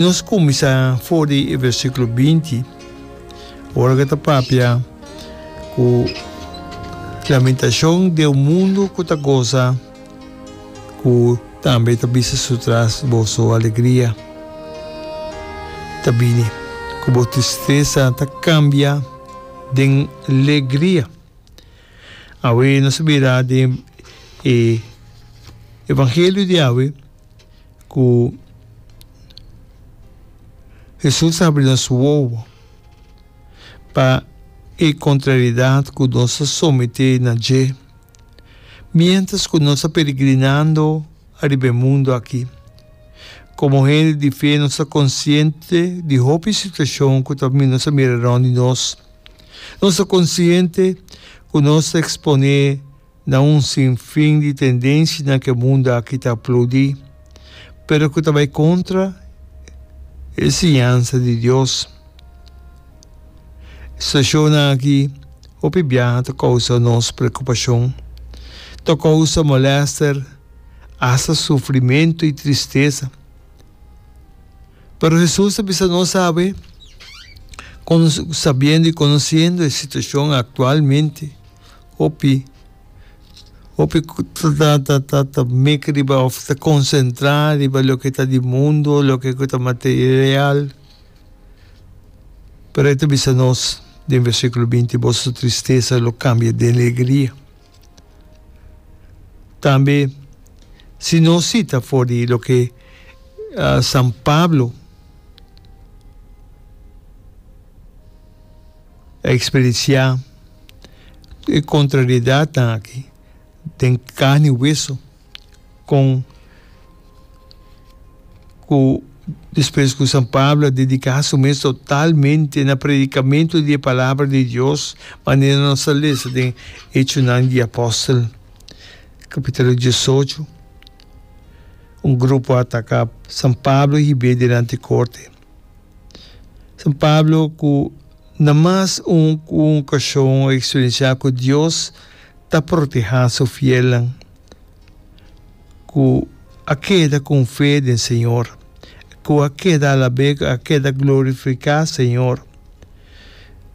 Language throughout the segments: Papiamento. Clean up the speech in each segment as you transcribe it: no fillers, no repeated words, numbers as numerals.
Nos kuminsá for di e versíkulo 20, ora ku ta papia ku lamentashon den un mundu ku ta gosa, ku tambe ta bisa su tras boso alegria ta bini, ku bo tristesa ta kambia den legria. Awe nos a mira den e evangelio di awe ku Hesus a habri nos wowo pa e kontrariedat ku nos a someté na dje miéntras ku nos ta peregrinando ariba e mundu aki. Komo hende di fe nos ta konsiente di hopi situashon ku ta nos a mira rònt di nos. Nos ta konsiente ku nos ta eksponé na un sinfin di tendensianan ku e mundu aki ta aplaudí, pero ku ta bai kontra e siñansa di Dios. E situashonnan aki hopi biaha ta kousa nos preokupashon, ta kousa molèster, asta sufrimentu i tristesa. Pero Hesus a bisa nos awe, sabiendo i konosiendo e situashon aktualmente, Hopi hopi ku ta ta ta ta mek riba òf ta konsentrá riba loke ta di mundu, loke ku ta material. Pero e ta bisa nos den versíkulo 20, boso tristesa lo kambia den alegria. Tambe si nos sita for di loke San Pablo a eksperensiá e kontrariedatnan aki den karni i weso kon ku despues ku San Pablo a dediká su mes totalmente na predikamentu di e palabra di Dios manera nos ta lesa den Echonan di Apòstel kapítulo 18 un grupo a ataká San Pablo i hib'é dilanti korte. San Pablo ku na mas un ku un okashon a eksperensiá ku Dios ta protehá su fielnan ku a keda ku un fe den Señor, ku a keda alab'é, ku a keda glorifiká Señor.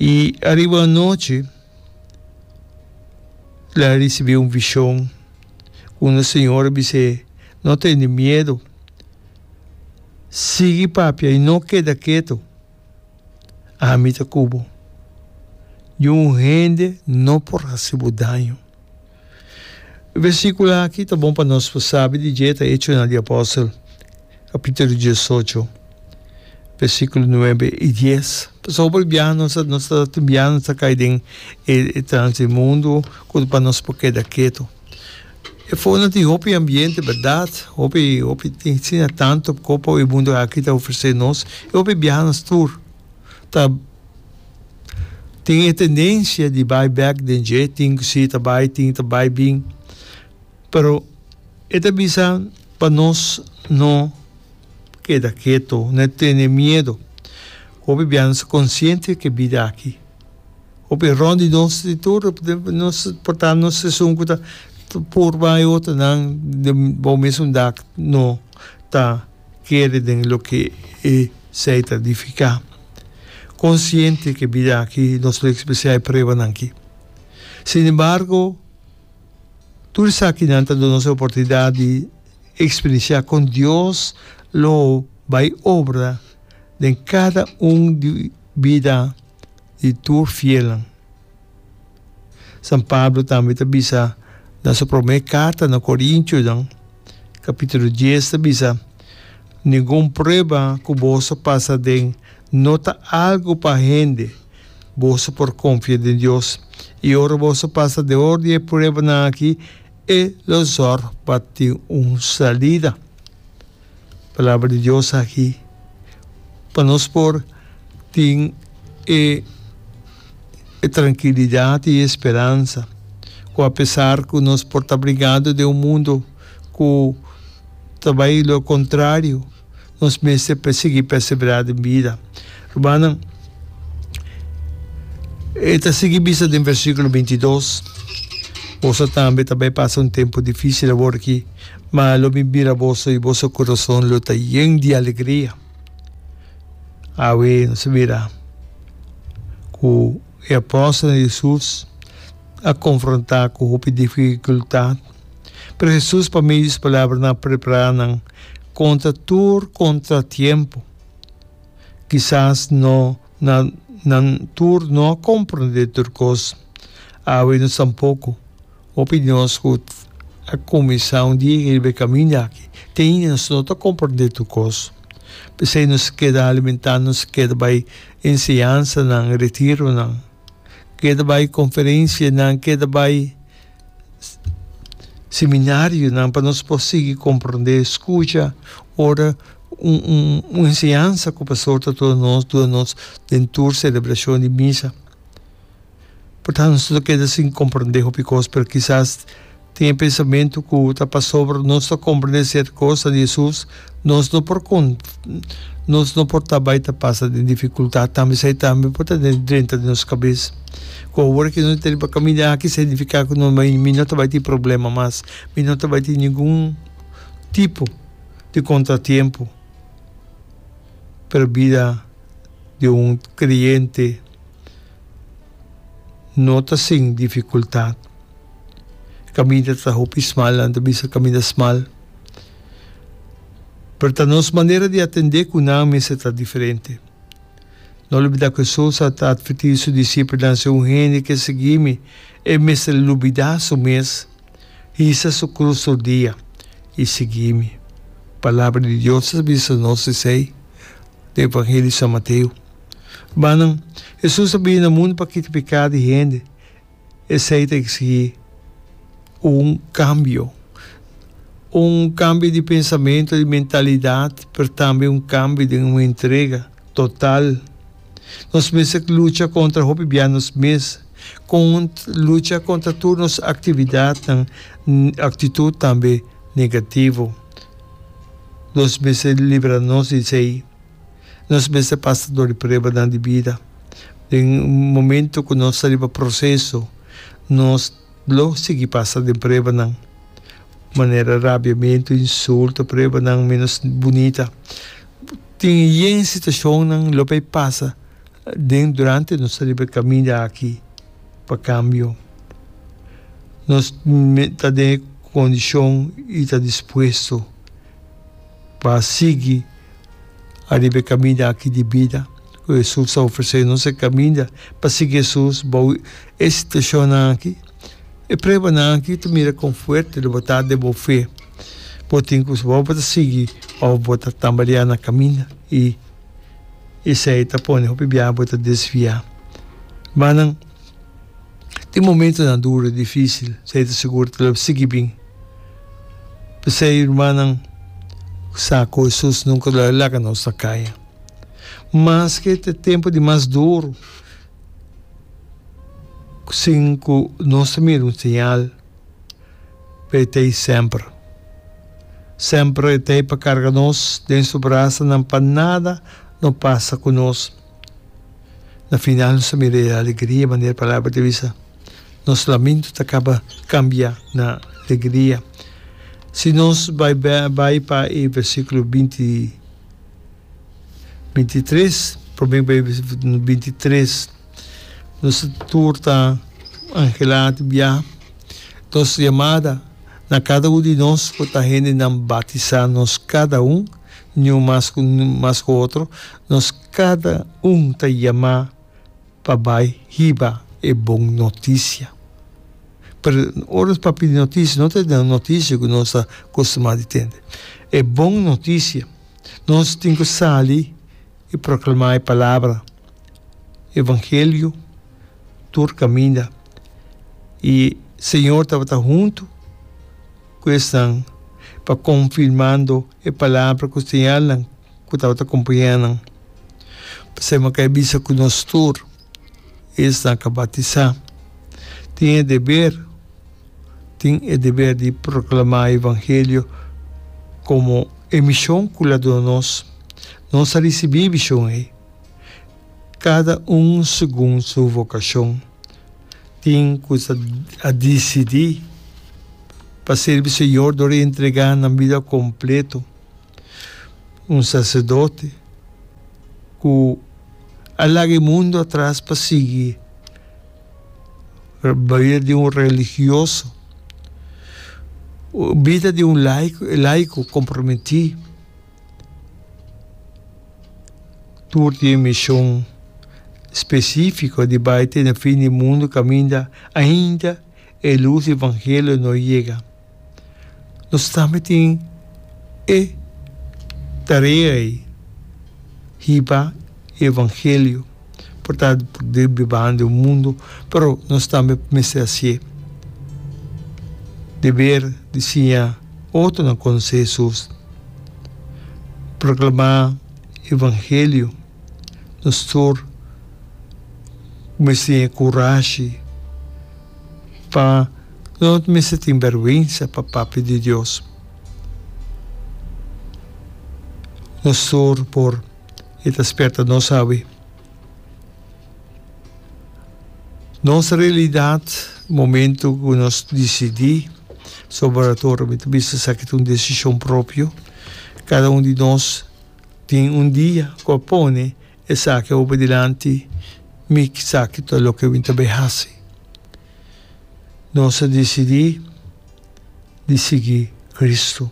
I ariba anochi el a risibí un vishon unda Señor a bis'é, No tene miedu. Sigui papia i no keda ketu. Ami ta ku bo. Niun hende no por hasi bo daño. E versíkulo aki ta bon pa nos por sabi di dje ta Echonan di Apòstel, kapítulo 18, versíkulo 9 i 10. Pasobra hopi biaha nos ta nos ta tin biaha nos ta kai den e trans di mundu ku pa nos por keda ketu. E fonan tin hopi ambiente berdad, hopi hopi tin asina tanto kopo e mundo aki ta ofrece nos y hopi biaha nos tur ta tin e tendencia di bai bek den dje, tin ku si ta bai tin ta bai bin, pero e ta bisa pa nos no keda keto, no tene miedo, hopi biaha nos ta consciente ke bida aki. Hopi rond di nos di tur nos por ta nos esun ku ta purba e otronan den bo mesun dak no ta kere den loke esei ta nifiká. Konsiente ku e bida aki nos lo eksperensiá e pruebanan aki. Sin embargo, tur esakinan ta duna nos e oportunidat di eksperensiá kon Dios lo bai obra den kada un di bida. di tur fielnan. San Pablo tambe ta bisa na su promé karta na Korintionan, kapítulo dies, ta bisa, Ningun prueba ku boso pasa aden no ta algu pa hende, boso por konfia den Dios, i ora boso pasa dor di e pruebanan akí, e lo zòrg pa tin un salida. Palabra di Dios aki pa nos por tin e e trankilidat i e speransa ku apesar ku nos por ta brigando den un mundu ku ta bai lo kontrario nos mester sigui perseverá den bida. Rumannan, e ta sigui bisa den versíkulo 22, Boso tambe ta bai pasa un tempu difísil awor aki, ma lo mi mira boso i boso kurason lo ta yen di alegria. Awe nos a mira ku e apòstelnan di Hesus a konfrontá ku hopi difikultat, pero Hesus pa medio di su palabranan a prepará nan kontra tur kontratiempo. Kisas no nan nan tur no a komprondé tur kos. Awe nos tampoko. Hopi di nos ku a kuminsá un dia riba e kaminda aki, te ainda nos no ta komprondé tur kos. P'esei nos keda alimentá, nos keda bai enseñansanan, retironan, keda bai konferensianan, keda bai seminarionan pa nos por sigui komprondé, skucha ora un un un enseñansa ku pastor ta duna nos, duna nos den tur selebrashon di misa. Por tanto nos ta keda sin komprondé hopi kos, pero kisas tin e pensamentu ku ta pasobra nos ta komprondé sierto kosnan di Hesus, nos no por nos no por ta bai ta pasa den difikultat tambe. Esei tambe por ta drenta den nos kabes ku awor ke nos ta riba kaminda aki signifiká ku no mi no ta bai tin problema mas, mi no ta bai tin ningun tipo di kontratiempo. Pero bida di un kreyente no ta sin dificultad. Caminda ta hopi smal, nan ta bisa caminda smal. Pero ta nos manera di atende cu nan mester ta diferente. No lubida cu Jesus a ta adverti su discipelnan, si un hende ke sigui mi, e mester lubida su mes, hisa su cruz tur dia y sigui mi. Palabra di Dios ta bisa nos esey den Evangelio di San Mateo. Rumannan, Hesus a bini na mundu pa kita piká di hende. Esei ta eksigí un kambio, un kambio di pensamentu, di mentalidat, pero tambe un kambio den un entrega total. Nos mester lucha kontra hopi bia nos mes, lucha kontra tur nos aktividatnan, aktitut tambe negativo. Nos mester libra nos di esei. Nos mester pasa dor di pruebanan di bida. Den un momento ku nos ta riba proseso, nos lo sigui pasa den pruebanan, manera rabiamentu, insulto, pruebanan menos bunita. Tin yen situashonnan lo bay pasa den durante nos ta riba e kaminda aki pa kambio. Nos ta den e kondishon i ta dispuesto pa sigui ariba e kaminda aki di bida ku Hesus a ofresé nos, e kaminda pa sigui Hesus bou e situashonnan aki, e pruebanan aki ta mira kon fuerte lo bo ta den bo fe. Bo tin ku bo ta sigui òf bo ta tambaleá na kaminda i esei ta pone hopi biaha bo ta desviá. Hermannan, tin momentonan duru, difísil, esei ta sigur ta lo sigui bin. P'esei, rumannan, sa ku Hesus nunka lo a laga nos na kaya. Maske ta e tempu di mas duru, sin ku nos ta mira un señal, pero e ta ei semper. Semper e ta ei pa karga nos den su brasanan pa nada no pasa ku nos. Na final nos ta mira e alegria, manera e palabra ta bisa. Nos lamento ta kaba kambia na alegria. Si nos bai bai pa e versíkulo binti bintitres, promé bai bintitres, nos tur ta anhelá di biaha. Nos yamada na kada un di nos ku ta hendenan batisá, nos kada un, niun mas ku mas ku otro, nos kada un ta yamá. pa bai hiba e bon notisia. Pero ora nos papia di notisia, no ta e notisia ku nos ta kustumá di tende. E bon notisia, nos tin ku sali i proklamá e palabra, evangelio, tur kaminda. I Señor tabata huntu ku esnan pa konfirmando e palabra ku señalnan. ku tabata kompañá nan. P'esei mi a kai bisa ku nos tur, esnan ku a batisá, tin e deber, tin e deber di proklamá e evangelio komo e mishon ku el a duna nos. Nos a risibí e mishon ei, kada un segun su vokashon. Tin ku a disidí pa sirbi Señor dor di entregá nan bida kompleto. Un saserdote. ku a laga e mundu atras pa sigui bida di un religioso, bida di un laiko komprometí. Tur tin e mishon spesífiko di bai te na fin di mundu kaminda ainda e lus di evangelio no yega. Nos tambe tin e tarea ei, hiba e evangelio. Por ta den bibando den un mundu, pero nos tambe mester hasié. Deber di siña otronan konosé Hesus, proklamá evangelio. Nos tur mester tin e kurashi pa no mester tin bèrgwensa pa papia di Dios. Nos tur por e ta sperta nos awe. Nos realidat momento ku nos disidí sobra tur mi ta bisa esaki ta un desishon propio. Kada un di nos tin un dia ku a pone esaki awo dilanti mi esaki ta loke mi ta bai hasi. Nos a disidí. di sigui Cristo.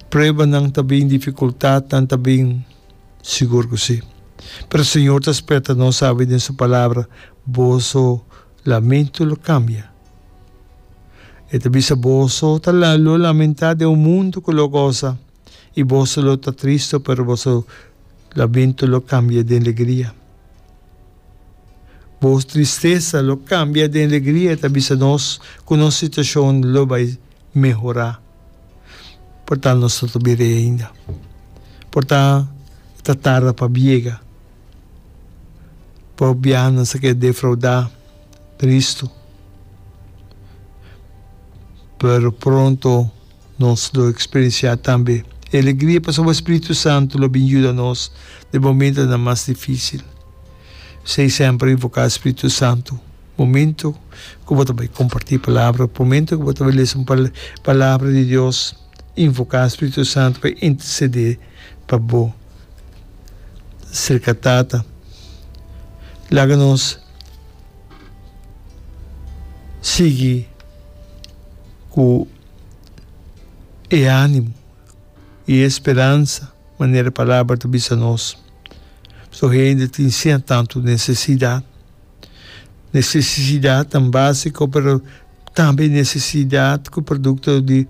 Pruebanan ta bin, dificultadnan ta bin, sigur cu si. Pero Señor ta spera nos awe den Su Palabra, Boso lamento lo cambia. E ta bisa, Boso ta lo lamenta den un mundo cu lo goza, y boso lo ta tristo, pero boso lamento lo cambia den legria. Bo tristesa lo kambia den alegria, e ta bisa nos ku nos situashon lo bai mehorá. Por ta nos no ta bira ei ainda. Por ta e ta tarda pa biega. Por biaha nos ta keda defraudá, tristu. Pero pronto nos lo eksperensiá tambe e alegria pasobra Spiritu Santu lo bin yuda nos den momentonan mas difísil. P'esei semper invoká Spiritu Santu momento ku bo ta bai kompartí palabra, momento ku bo ta bai lesa un palabra di Dios, invoká Spiritu Santu pa intersedé pa bo serka Tata. Laga nos sigui ku e ánimo i e speransa manera e palabra ta bisa nos. Pasobra hende tin siña tantu nesesidat, nesesidatnan básiko pero tambe nesesidat ku produkto di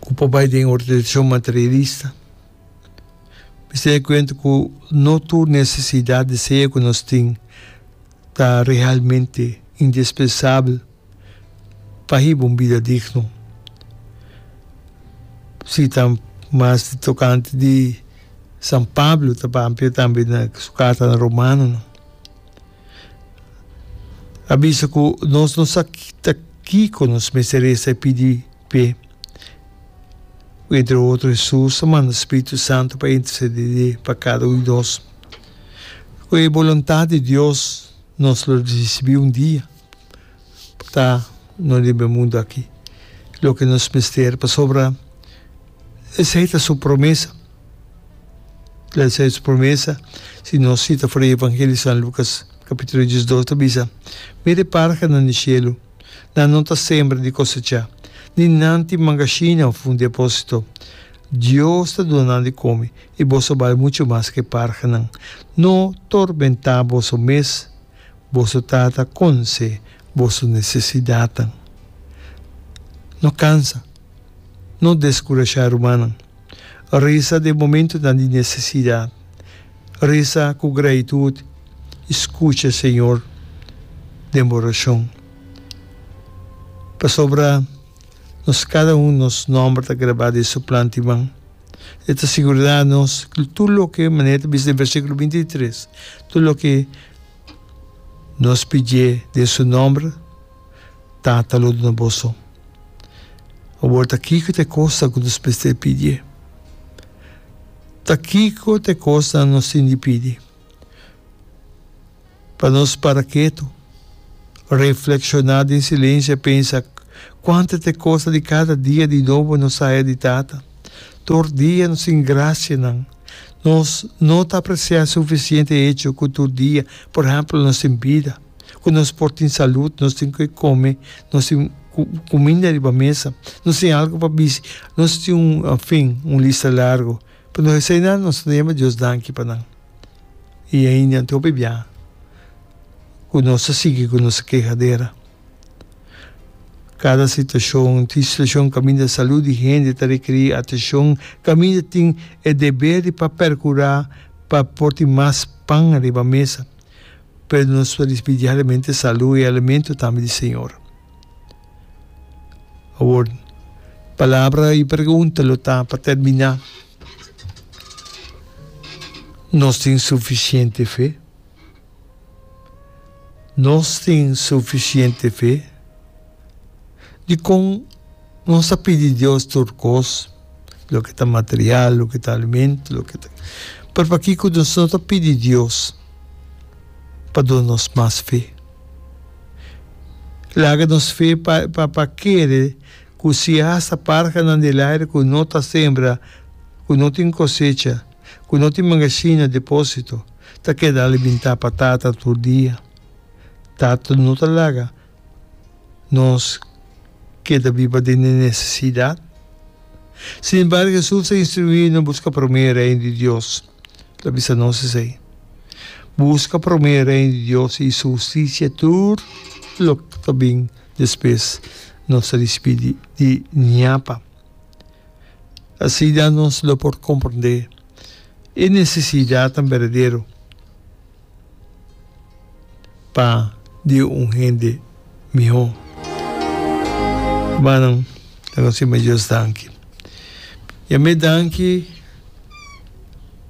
ku por bai den orientashon materialista. Mester tene kuenta ku no tur nesesidat, deseo ku nos tin ta realmente indispensabel pa hiba un bida digno. Si ta mas di tokante di San Pablo ta papia tambe na su karta na Romanonan. A bisa ku nos no sa ta kiko nos mester resa i pidi p'e. Entre otro Hesus a manda Spiritu Santu pa intersedé pa kada un di nos. Ku e boluntat di Dios nos lo risibí un dia. Ta no riba e mundu aki loke nos mester pasobra esei ta su promesa. Esei ta su promesa. Si nos sita for di Evangelio di San Lukas kapitulo diesdos ta bisa, Mira e parhanan di shelu, nan no ta sembra ni kosechá, ni nan tin mangashina òf un depósito. Dios ta duna nan di kome, i boso bal muchu mas ku e parhanan. No tormentá boso mes. Boso Tata konse boso nesesidatnan. No kansa, no deskurashá rumannan. Resa den momentunan di nesesidat. Resa ku gratitut i skucha Señor den bo orashon. Pasobra nos kada un nos nòmber ta grabá den Su plan di man. E ta sigurá nos ku tur loke, manera ta bisa den versíkulo 23, tur loke nos pidié den su nòmber, Tata lo duna boso. Awor ta kiko ta e kosnan ku nos mester pidié? Ta kiko ta e kosnan nos tin di pidi? Pa nos para ketu, reflekshoná den silensio i pensa kuantu ta e kosnan di kada dia di nobo nos haya di Tata. Tur dia nos tin grasianan. Nos no ta apresiá sufisiente e echo ku tur dia, por ehèmpel, nos tin bida, ku nos por tin salud, nos tin ke kome, nos tin kuminda riba mesa, nos tin algu pa bisti, nos tin un, enfin, un lista largu. Pero eseinan nos no yama Dios danki pa nan. I ainda anto hopi bia ku nos ta sigui ku nos kehadera. Kada situashon tin situashon kaminda salud di hende ta rekerí atenshon, kaminda tin e deber di pa perkurá pa por tin mas pan riba mesa. Pero nos ta risibí diariamente salud i alimento tambe di Señor. Awor, palabra i pregunta lo ta pa terminá, Nos tin sufisiente fe? Nos tin sufisiente fe? Dikon nos ta pidi Dios tur kos, loke ta material, loke ta alimento, loke ta. Pero pakiko nos no ta pidi Dios pa duna nos mas fe? Laga nos fe pa pa kere ku si hasta parhanan di laire ku no ta sembra, ku no tin kosecha, ku no tin magazina, deposito, ta keda alimentá pa Tata tur dia. Tata no ta laga nos keda biba den e nesesidat. Sin embargo, Hesus a instruí nos buska promé e Reino di Dios. El a bisa nos esei, Buska promé e Reino di Dios i su hustisia, tur loke ta bin despues nos ta risibí di ñapa. Asina nos lo por komprondé e nesesidatnan berdadero pa di un hende mihó. Hermannan, ta nos sima Dios danki. Yam'é danki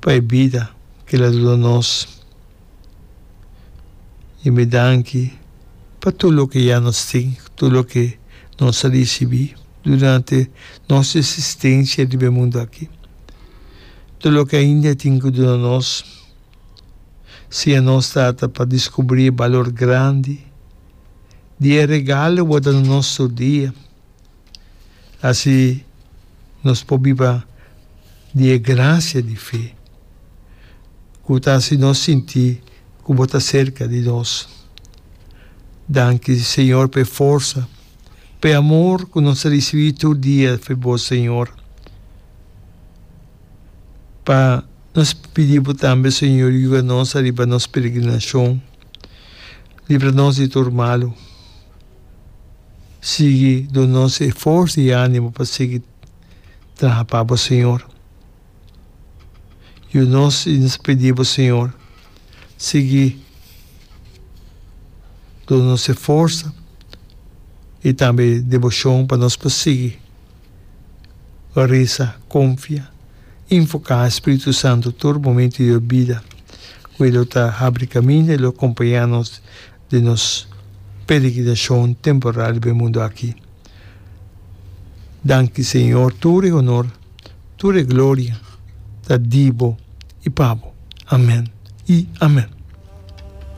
pa e bida ku el a duna nos. Yam'é danki pa tur loke ya nos tin, tur loke nos a risibí durante nos esistensia riba e mundu aki. Tur loke ainda e tin ku duna nos. Siña nos, Tata, pa diskubrí e balor grandi di e regalo bo a duna nos tur dia. Asi nos por biba di e grasia di fe ku ta hasi nos sinti ku bo ta serka di nos. Danki, Señor, pa e forsa, pa e amor ku nos ta risibí tur dia for bo, Señor. Pa nos pidi bo tambe, Señor, yuda nos ariba nos peregrinashon. Libra nos di tur malu. Sigui duna nos e forsa i animo pa sigui traha pa bo, Señor. Yuda nos i nos pidi bo, Señor, sigui duna nos e forsa i tambe deboshon pa nos por sigui resa, konfia, invoká Spiritu Santu tur momento di nos bida, ku e lo ta habri kaminda, e lo kompañá nos den nos peregrinashon temporal riba e mundu aki. Danki Señor, tur e honor, tur e gloria ta di Bo i pa Bo. Amen i amen.